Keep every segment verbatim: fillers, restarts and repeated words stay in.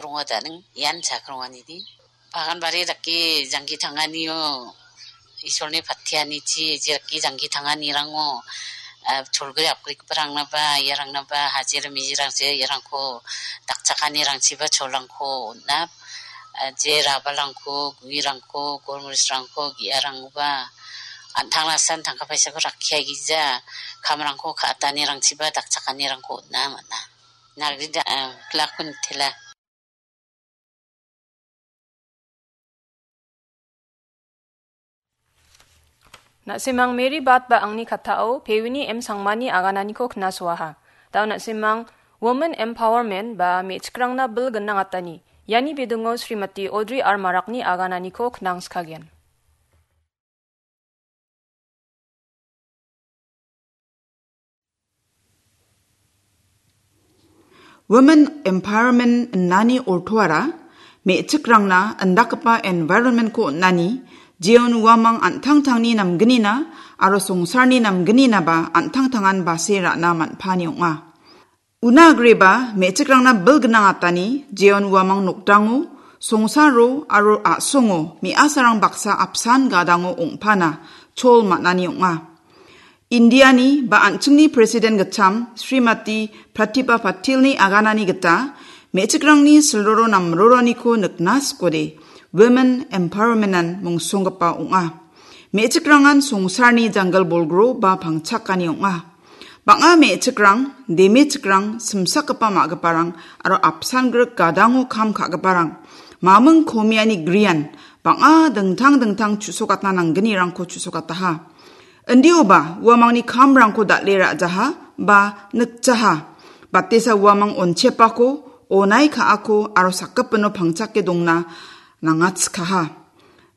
Rongo daning ian chakronganidi. Bagan bari dake jangki tanganio Isolni patianichi, jaki jangki tanganirango, ah, cholgri apgrikgiparangnaba, iarangnaba, hajir mijirangse, iarangko dakchakanirangchiba cholrangko on·a, ah, je rabalrangko, guirangko, golmorisrangko, ge·arangkoba, an·tangnasan tangka paisako rakkiagija, kamrangko ka·atanirangchiba dakchakanirangko on·a man·a. Nagrida, ah, plakun tela. Na·simang Mary Bat ba angni kattao Pewini M Sangmani agananiko knasoaha. Dao na·simang Women Empowerment ba me·chikrangna bil gnang atani. Iani bidingo Srimati Audrey R Marakni agananiko knangskagen. Women Empowerment innani ortoara me·chikrangna indakgipa environment-ko on·ani, jeon uamang an·tangtangni namgnina aro songsarni namgninaba an·tangtangan base ra·na man·pani ong·a. Una agreba me·chikrangna bil gnang atani, jeon uamang nokdango, songsaro aro a·songo me·asarang baksa apsan gadango ong·pana chol man·ani ong·a. Indiani ba an·chingni President gitcham Srimati Pratibha Patilni aganani gita me·chikrangni silroro namroroniko nikna sikode Women Empowerment-an mungsonggipa ong·a. Me·chikrangan songsarni janggil bolgro ba pangchakani ong·a. Bang·a me·chikrang, demechikrang, simsakgipa ma·giparang aro apsan grik gadango kam ka·giparang, maming komiani grian bang·a dingtang dingtang chu·sokatna nanggnirangko chu·sokataha. Indioba uamangni kamrangko dal·e ra·jaha ba nikjaha. Batesa uamang onchepako, onai ka·ako aro sakgipino pangchake dongna nangatskaha.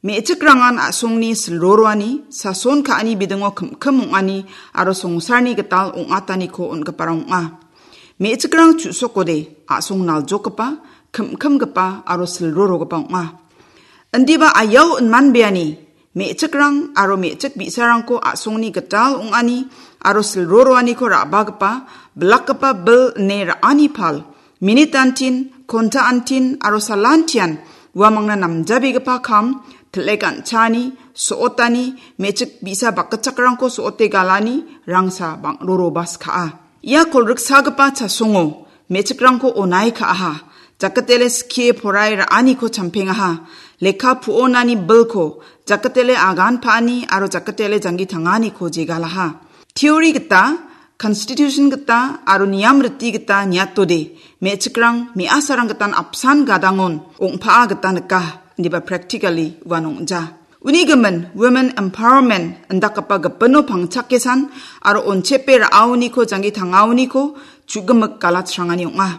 Me·chikrangan a·songni silroroani, sason ka·ani bidingo kim-kim ong·ani aro songsarni gital ong·ataniko on·giparang ong·a. Me·chikrang chu·sokode a·song naljokgipa, kim-kimgipa aro silrorogipa ong·a. Indiba ayau inmanbeani, me·chikrang aro me·chik bi·sarangko a·songni gital ong·ani aro silroroaniko ra·bagipa, bilakgipa bil ine ra·ani pal, minit antin, konta antin aro salantian uamangna namjabegipa kam, til·e ganchani, so·otani, me·chik bi·sa bakgitchakrangko so·ote galani, rangsa bang·roroba skaa. Ia kolgriksagipa chasongo me·chikrangko onai ka·aha, jakatele skie porae ra·aniko champengaha, lekka pu·onani bilko jakatele agan pa·ani aro jakatele janggi tanganiko jegalaha. Theory gita, constitution gita aro niam riti gita niatode, me·chikrang me·asarang gitan apsan gadangon ong·paa gita nika, indiba practically uan ong·ja. Uni gimin Women Empowerment indakgipa gipino pangchakesan aro onchepe ra·aoniko janggi tangaoniko chu·gimik galatsrangani ong·a.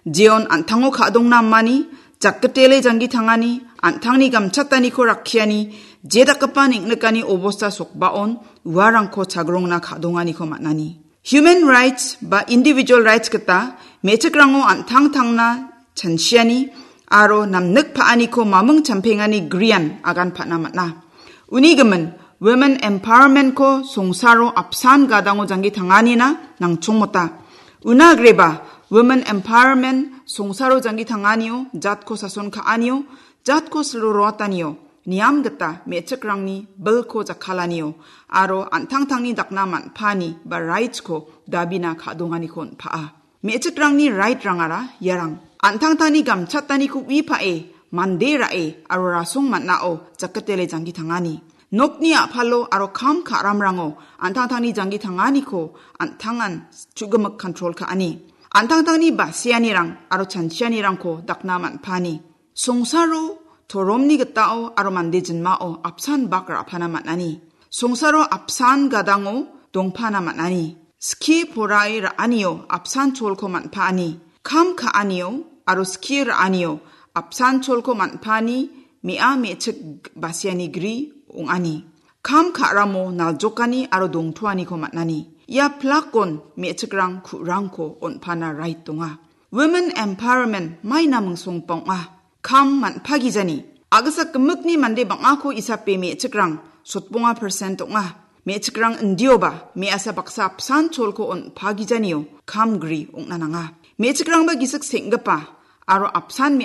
Jeon an·tango ka·dongna amani, jakgitele janggi tangani, an·tangni gamchataniko rakkiani, jedakgipa neng·nikani obosta sokbaon uarangko chagrongna ka·donganiko man·ani. Human rights ba individual rights gita me·chikrango an·tangtangna chanchiani aro namnik pa·aniko maming champengani grian agan pa·na man·a. Uni gimin Women Empowerment-ko songsaro apsan gadango janggi tanganina nangchongmota. Una agreba Women Empowerment songsaro janggi tanganio, jatko sason ka·anio, jatko silroroatanio, niam gita me·chikrangni bilko jakkalanio aro an·tangtangni dakna man·paani ba rights-ko dabina ka·donganiko on·paa. Me·chikrangni right-rangara iarang. An·tangtangni gamchataniko ui pa·e, mande ra·e aro rasong man·ao jakatele janggi tangani. Nokni a·palo aro kam ka·ramrango an·tangtangni janggi tanganiko an·tangan chu·gimik control ka·ani. An·tangtangni basianirang aro chanchianirangko dakna man·paani. Songsaro toromni gitao aro mande jinmao apsan bak ra·pana man·ani. Songsaro apsan gadango dongpana man·ani. Skie porae ra·anio apsan cholko man·paani. Kam ka·anio aro skie ra·anio apsan cholko man·paani me·a me·chik basiani gri ong·ani. Kam ka·ramo naljokani aro dongtoaniko man·ani. Ia plakon me·chikrang ku·rangko on·pana rait donga. Women empowerment maina mingsonggipa ong·a. Kam man·pagijani. A·gisa gimikni mande bang·ako isape me·chikrang sotbonga percent ong·a. Me·chikrang indioba me·asa baksa apsan cholko on·pagijanio kam gri ong·na nanga. Me·chikrangba gisik seng·gipa aro apsan me·a